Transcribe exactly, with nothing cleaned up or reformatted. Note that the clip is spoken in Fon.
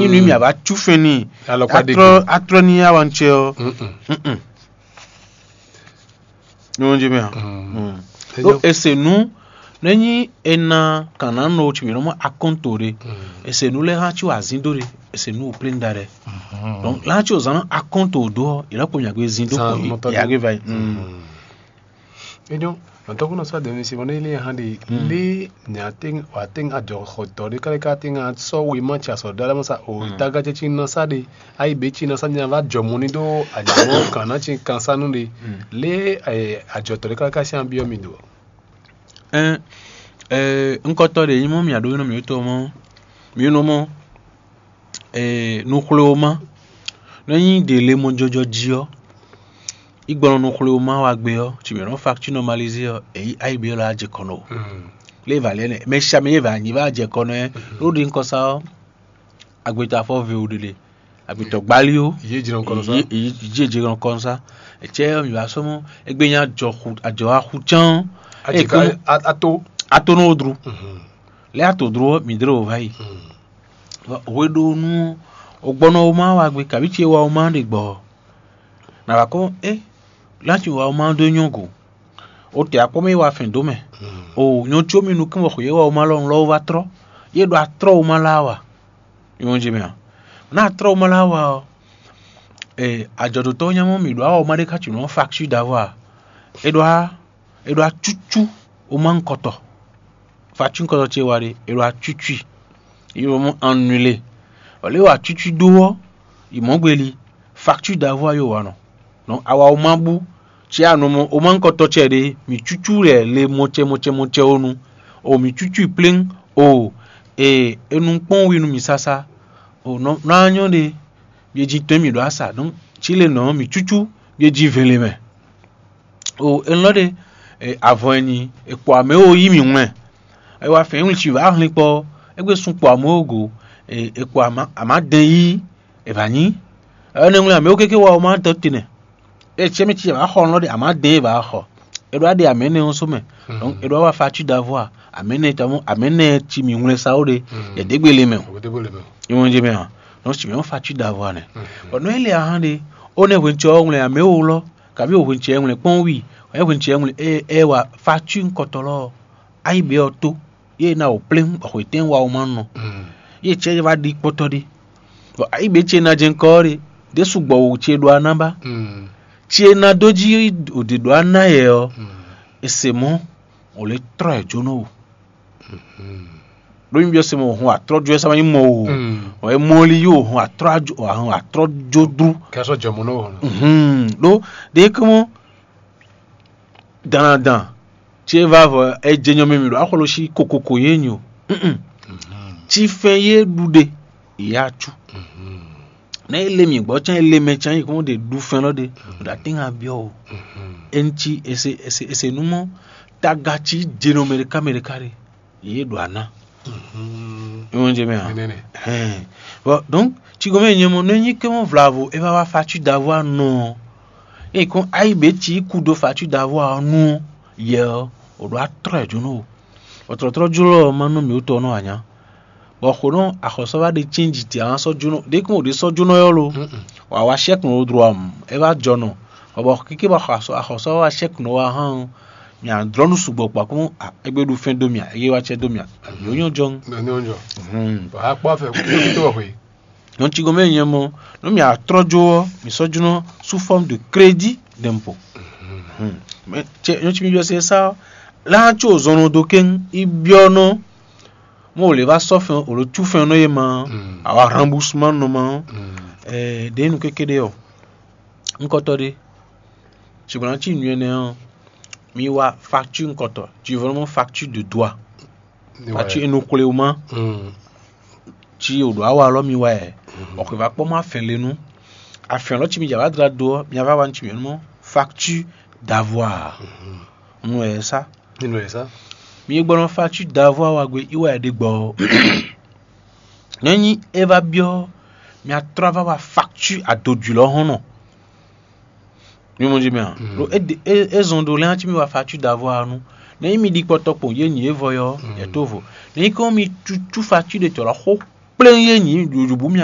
Nú mi a va cú fɛn n'i, alɔkpa ɖe atrɔ atrɔ ní awancɛ ɔ́. Mm-mm. Ní wọ́n jẹ́ mẹ́ hàn. Ɖó ese nú nɛ́ nyí ena kǎnánɔ tsi mǐ nɔ mɔ akɔ́nto ɖe. Ese nú lɛ́ hã tsi wɔ azín dó ɖe. Ese nú wò plé da ɖɛ. Donc lɛ́ hã tsi wɔ zán akɔ́nto dó ɔ́, yě nɔ kpo mì agbe zín dó kpo yě agbe va yi. Enyɔ, nɔtɔkùnɔ sɔ dɛmɛ si mɔ ne ilé hã de ilé nyateng wateng ajɔ xɔtɔ ɖe kálí ká teng sɔ wema tsi asɔ dala mɔ sa o taga tsi na sa ɖe ayi be tsi na sa nya va jɔ mɔ ni ɖo anyamɔ kan na tsi kan sa nu ɖe lé ajɔtɔ ɖe kálí ká sian biɔ mi do. Ɛn, ŋkɔtɔ ɖe nyí mɔ mia ɖó nɔ mǐtɔn mɔ mǐ nɔ mɔ nuxwléwoma nɔ nyí ɖě le mɔjɔjɔ jí ɔ́, yi gbɔn nuxwléwoma wa gbé ɔ́, tsi mǐ nɔ facture normalisé ɔ́, èyí ayi bǐ lɔ ajɛ kɔnɔ o. Lé va lɛ nɛ mɛ sha mɛ yé va nyi va ajɛ kɔnɔ ɛ ɖó ɖi ŋkɔ sa ɔ́, agbetɔ afɔ ve o ɖeɖe, agbetɔ gbali o. Yé jɛ nɔ kɔnɔ sa. Yé jɛ nɔ kɔnɔ sa. Etsɛ ɔ́ mi va sɔmɔ egbe nya ajɔ xu ajɔ axu cán. Ajɛ ka ato. Ato nɔ dru. Lɛ ato dru ɔ́ mi dlé o va yi. Hweɖónú ɔ́, o gbɔ nɔ woma wa gbe kaví ce wa woma ɖe gbɔ. Nǎ wá kɔn é, lá ci wa woma dó nyɔ́ go. O tɛ akpɔ́ mɛ yi wa fɛn dó mɛ. O nyɔ́ có mi nukún bɔ xwě wa woma lɔ lɔ wó vá trɔ́. Yé ɖo atrɔ́ woma lá wa. Nyɔ́ jí mɛ a? Ná atrɔ́ woma lá wa ɔ́, ajɔ̌dótɔ́ nya mɔ mǐ ɖó awɔ woma ɖé ká ci nǔ ɔ́ facture d'avoir. É ɖó á é ɖó acúcú woma ŋkɔtɔ. Facture ŋkɔtɔ ce wa ɖe, è ɖo acúcú i. Yi mɔ annulé. Ɔlé wa acúcú ɖó ɔ́, yi mɔ gbeli. Facture d'avoir yo wa nɔ. Donc awa woma bú. Ci anɔ mɔ woma ŋkɔtɔ ce ɖe, mi cúcú lɛ le mɔcɛ mɔcɛ mɔcɛ wo nu. O mi cúcú i pléŋ. O e enu kpɔ́n wi nú mi sásá. O nɔ nɔ anyɔ ɖe. Mi e jí tɔn mi ɖo asa. Donc ci le nɔ mi cúcú mi e jí vɛn le mɛ. O elɔ́ ɖe avɔ e nyi è kpɔ amɛ wo yí mì wlɛn. È wa fɛn wlin ci vǎ hlin kpɔ. Égbé sun kpɔ amɛ wo go. È kpɔ amǎ dɛn yí è vǎ nyí. Ɛnɛ wlin amɛ wo kéké wa woma dɔ te nɛ. Etsɛ mi ci vǎ xɔ lɔ́ ɖe amǎ dɛn yí vǎ xɔ. È ɖo aɖe amɛ nɛ ɔ́ só mɛ. Donc è ɖo wa facture d'avoir amɛ nɛ tɔmɔ amɛ nɛ ci mì wlɛn sa wo ɖe. Yɛ dégbe le mɛ o. Ìwọ̀n jɛ mɛ hàn. Donc ci mɛ ɔ́ facture d'avoir nɛ. Bɔn nɔ ele ahán ɖe. Ó nɛ hwɛncɛ ɔ́ wlɛn amɛ wo lɔ. Kabi o hwɛncɛ wlɛn kpɔn wi. Ɛ hwɛncɛ wlɛn ɛ ɛ wa facture ŋkɔtɔ lɔ. Ayi be ɔ tó. Ye na o plɛn bɔ xwetɛn wa o ma nɔ. Ye cɛ va ɖi kpɔtɔ ɖi. Bɔ ayi be ce na jɛ ŋkɔ ɖe. Ɖe sugbɔ wo ce ɖo ana ba. Ce na dó jí o ɖe ɖo ana yɛ ɔ. Ese mɔ o le trɔ ɛ jó nɔ o. Ɖó mi byɔ́ se mɔ o hun atrɔ́jú ɛ sama nyí mɔ o. Ɔ e mɔ li yí o hun atrɔ́jú o hun atrɔ́jú dú. Kɛ sɔ jɔ mɔ nɔ o. Ɖó ɖe kɔmɔ dandan ce va vɔ e jɛ nyɔ mɛ mi ɖo axɔlɔ si kokoko ye nyi o. Ci fɛn ye ɖu ɖe ya cu. Ne ele mi gbɔ can ele mɛ can yi kɔn de ɖu fɛn lɔ de o da ti ŋa biɔ o. Enti ese ese ese numɔ taga ci jeno mɛɖeka mɛɖeka ɖe ye ɖo ana. Ìwọ̀n jẹ mɛ hàn. Bon donc ci gɔmɛ nyɛ mɔ ne nyi kɛ mɔ vlavo e va wa facture d'avoir nɔ. E kɔn ayi be ci ku do facture d'avoir nu yɛ o ɖo atrɔ ɛ jónú o. Ɔtrɔtrɔ jlɔ ma nɔ mi wutɔ nɔ anya. Bɔ xo nɔ axɔsɔ va ɖe change ti a sɔ jónɔ ɖe kún o ɖe sɔ jónɔ yɔ lo. Wa wa chèque nɔ dro am e va jɔ nɔ. Bɔ bɔ keke bɔ axɔsɔ axɔsɔ wa chèque nɔ wa hàn. Mi a drɔ nu sugbɔ kpa kún egbe ɖu fɛn do mi a eye wa cɛ do mi a. Yo nyɔ jɔn. Nɔ nyɔ jɔ. Wa kpɔ fɛ kó tó wɔ xwe. Nɔ ci gɔmɛ nyɛ mɔ nɔ mi a trɔ jo ɔ mi sɔ jónɔ sous forme de crédit d'impôt. Mɛ cɛ nɔ ci mi jɔ se sa la tso zɔnɔ do kɛn i biɔ nɔ. Mɔ wòle va sɔ fɛn wòle cu fɛn nɔ ye ma. Awa remboursement nɔ ma. Ɛɛ ɖe nu kékeré ɔ. Ŋkɔtɔ ɖe ṣùgbọ́n tí nuyɛ nɛ ɔ mi wa facture ŋkɔtɔ, tu veux vraiment facture de droit. Facture enu xwle o ma. Ci o ɖo awa lɔ mi wa yɛ. Ɔkè va kpɔ ma fɛn le nu. Afɛn lɔ ci mi dza va dla do ɔ mi va wa ci mi nɔ facture d'avoir. Nu ɛ sa. Nínú ẹ̀ sá. Mi gbɔdɔ facture d'avoir wa gbe iwa ɛ ɖe gbɔ. Nɛnyi e va biɔ mi atrɔ va wa facture adodwi lɔ hɔn nɔ. Mi mɔ jí mɛ a? Ɖo e zɔn ɖo lɛn atsi mi wa facture d'avoir nu. Nɛnyi mi ɖi kpɔtɔ kpɔn yé nyi e vɔ yɔ yɛ to vo. Nɛnyi kɔn mi cucu facture de tɔ lɔ xo kplɛn yé nyi ɖoɖo bu mi